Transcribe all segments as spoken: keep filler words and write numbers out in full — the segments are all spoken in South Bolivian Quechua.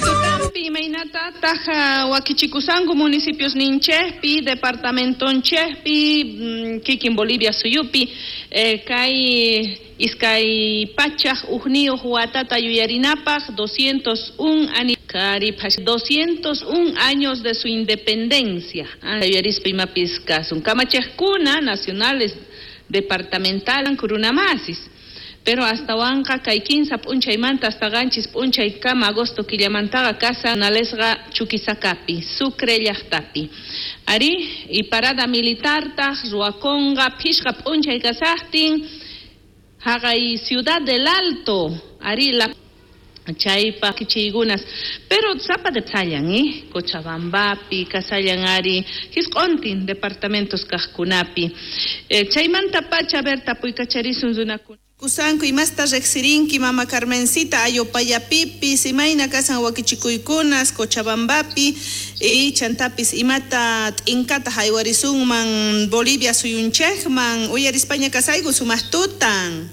Tutampi imaynatataq wakichikusanku municipios ninchejpi departamentonchejpi kikin Bolivia suyupi eh, kay iskay pachaj ujniyuq watata yuyarinapaq doscientos un ani karipash doscientos un años de su independencia yuyarispa imapis kasun kamachejkuna nacionales departamental kurunamasis pero hasta wanqa kay kinsa p'unchaymanta hasta qanchis p'unchay kama agosto killamantaqa kasa nalesqa Chuquisacapi Sucre llaqtapi ari y parada militartaq ruwakunqa phishqa p'unchay kasaqtin haqay Ciudad del Alto ari la chaypa kichiykunas pero sapa de tsallan eh Cochabambapi kasallan ari hisq'untin departamentos kaqkunapi eh, chaymanta pacha a ver tapuykacharisun runakuna Kusanku imasta riqsirinki mama Carmencita Ayopayapipis imayna kasan wakichikuykunas Cochabambapi y chantapis imata t'inkata haywarisunman Bolivia suyunchejman uyarispaña kasayku sumaqtutan.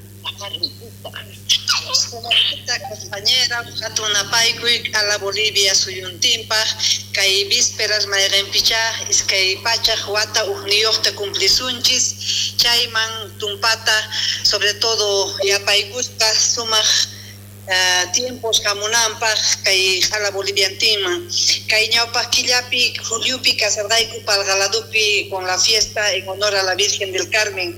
Sumaqtuta compañera hatun napaykuy a la Bolivia suyuntinpaq kay vísperas mayqinpichá iskay pachaq wata ujniyuqta cumplisunchis chayman tumpata sobre todo yapaykuspa sumaq uh, tiempos hamunanpaq kay qhala boliviantinman kay ñawpaq killapi juliupi kasarqayku Palgaladupi con la fiesta en honor a la Virgen del Carmen.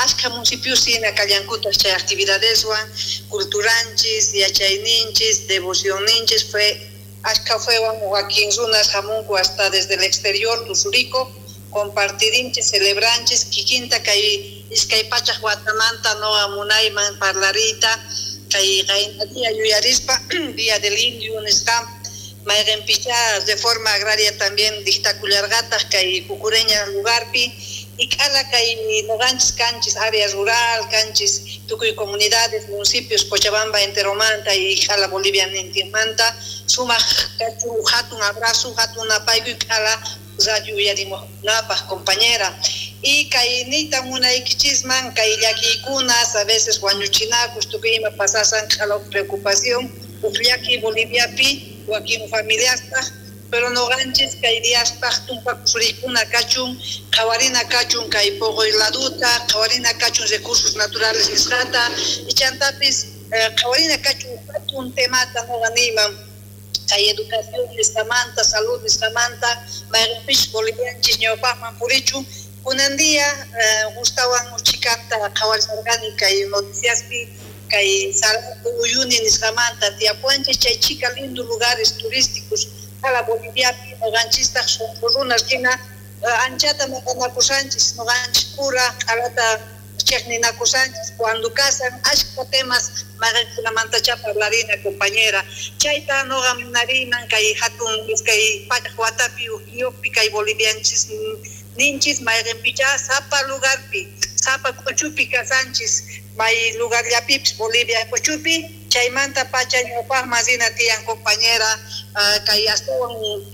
Ashka municipios hina kallankutaj chay actividadeswan culturanchis yachayninchis devocionninchis fue ashka fuewan wakin runas hamunku hasta desde el exterior tusurico compartirinchis celebranchis kikinta kay iskay pachaq watamanta noqa munayman parlariyta kay qayna yuyarispa Día del Indio nisqa mayqinpichá reforma agraria también dictakullarqataq kay Cucureña lugarpi y k'ala kay noqanchis kanchis área rural kanchis tukuy comunidades municipios Cochabamba enteromanta y qhala Bolivia nintinmanta sumaq kachun hatun abrazo hatun napaykuy k'ala radio uyarimuqkunapaq compañera y kay niyta munaykichisman kay llakiykunas a veces wañuchinakus tukuy ima pasasan qhala preocupación uj llaki Boliviapi wakin familiaspaq pero noqanchis kay diaspaq tumpa kusurikuna kachun qhawarina kachun kay poqoy laduta qhawarina kachun recursos naturales nisqata y chantapis eh, qhawarina kachun hatun temata noqa niyman kay educación nisqamanta salud nisqamanta mayqinpis bolivianchis ñawpaqman purichun kunan día eh, gustawan uchikanta qhawarisarqani kay noticiaspi kay Salado Uyuni nisqamanta tiyapuanchis chay chika lindo lugares turísticos qhala Boliviapi noqanchistaq sunqu runas hina anchata maqanakusanchis noqanchis pura qhalata chiqninakusanchis cuando kasan ashka temas mayqinkunamantachá parlarina compañera chayta noqa munariyman kay hatun iskay pachaq watapi ujniyuqpi kay bolivianchis ninchis mayqinpichá sapa lugarpi sapa k'uchupi kasanchis may lugarllapipis Bolivia k'uchupi chaymanta pacha ñawpaqman rina tiyan compañera uh, kay astawan